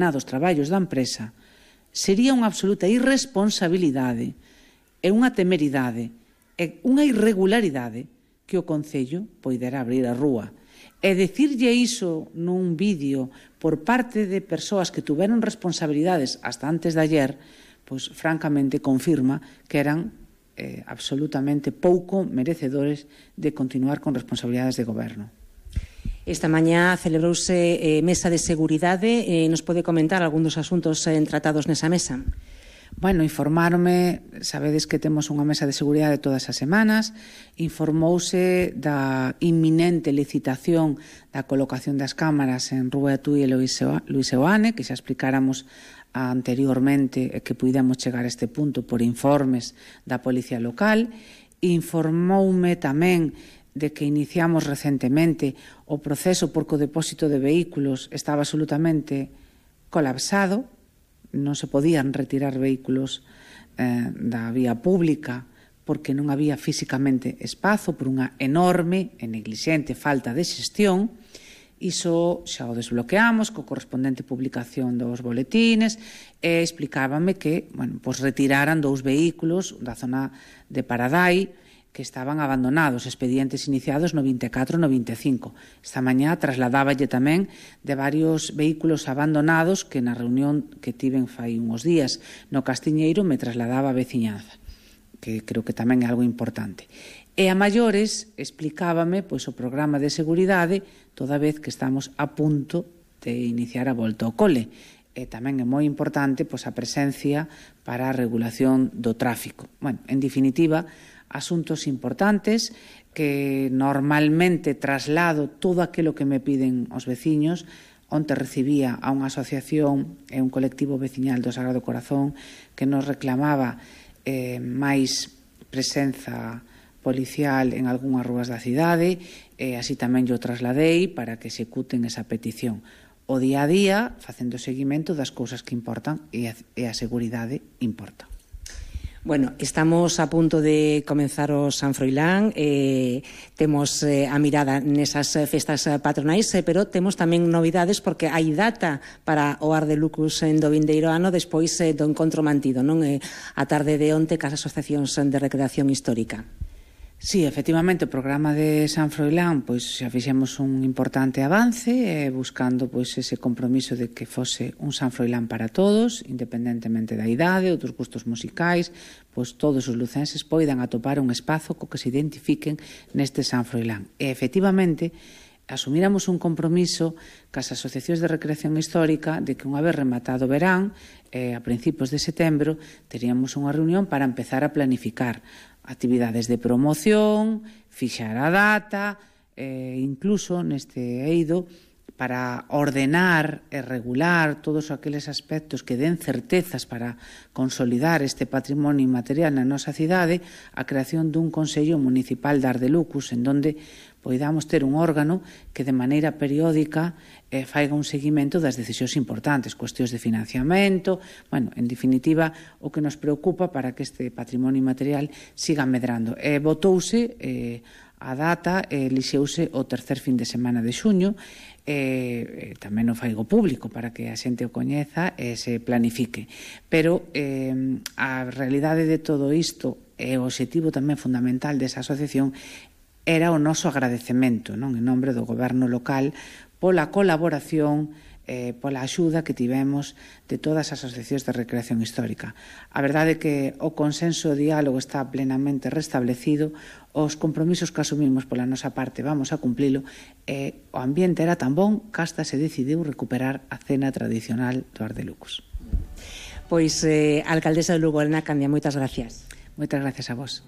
dos traballos da empresa, sería unha absoluta irresponsabilidade e unha temeridade e unha irregularidade que o Concello poidera abrir a rúa. E dicirlle iso nun vídeo por parte de persoas que tuveron responsabilidades hasta antes de ayer, pois francamente confirma que eran absolutamente pouco merecedores de continuar con responsabilidades de goberno. Esta mañá celebrouse mesa de seguridade. Nos pode comentar algún dos asuntos tratados nesa mesa? Bueno, informáronme, sabedes que temos unha mesa de seguridade todas as semanas, informouse da inminente licitación da colocación das cámaras en Rúa Tui e Luis Seoane, que xa explicáramos anteriormente que puidemos chegar a este punto por informes da Policía Local. Informoume tamén de que iniciamos recentemente o proceso porque o depósito de vehículos estaba absolutamente colapsado, non se podían retirar vehículos da vía pública porque non había físicamente espazo por unha enorme e neglixente falta de xestión. Iso xa o desbloqueamos co correspondente publicación dos boletines e explicábame que retiraran 2 vehículos da zona de Paradai que estaban abandonados, expedientes iniciados no 24 e no 25. Esta mañá trasladáballe tamén de varios vehículos abandonados que na reunión que tiven fai uns días no Castiñeiro me trasladaba a veciñanza, que creo que tamén é algo importante. E a maiores explicábame o programa de seguridade toda vez que estamos a punto de iniciar a volta ao cole. E tamén é moi importante a presencia para a regulación do tráfico. En definitiva, asuntos importantes que normalmente traslado todo aquilo que me piden os veciños. Onte recibía a unha asociación e un colectivo veciñal do Sagrado Corazón que nos reclamaba máis presenza policial en algunhas rúas da cidade e así tamén yo trasladei para que executen esa petición. O día a día, facendo seguimento das cousas que importan e a seguridade importa. Bueno, estamos a punto de comenzar o San Froilán, temos a mirada nesas festas patronais, pero temos tamén novidades porque hai data para o Ar de Lucus do vindeiro ano despois do encontro mantido, non? A tarde de onte cas asociacións de recreación histórica. Sí, efectivamente, o programa de San Froilán xa fixemos un importante avance buscando ese compromiso de que fose un San Froilán para todos, independentemente da idade ou dos gustos musicais, todos os lucenses poidan atopar un espazo co que se identifiquen neste San Froilán. E, efectivamente, asumíramos un compromiso cas asociacións de recreación histórica de que unha vez rematado o verán, a principios de setembro, teríamos unha reunión para empezar a planificar actividades de promoción, fixar a data, incluso neste eido para ordenar e regular todos aqueles aspectos que den certezas para consolidar este patrimonio inmaterial na nosa cidade, a creación dun Consello Municipal de Ar de Lucus, en donde poidamos ter un órgano que de maneira periódica faiga un seguimento das decisións importantes, cuestións de financiamento, en definitiva, o que nos preocupa para que este patrimonio inmaterial siga medrando. Votouse a data, elixeuse o tercer fin de semana de xuño, tamén o faigo público para que a xente o coñeza e se planifique. Pero a realidade de todo isto e o obxectivo tamén fundamental desa asociación era o noso agradecemento, en nome do goberno local, pola colaboración, pola axuda que tivemos de todas as asociacións de recreación histórica. A verdade é que o consenso e o diálogo está plenamente restablecido, os compromisos que asumimos pola nosa parte vamos a cumplilo, e o ambiente era tan bon que hasta se decidiu recuperar a cena tradicional do Ar de Lucus. Pois, alcaldesa de Lugo, Elena Candia, moitas gracias. Moitas gracias a vos.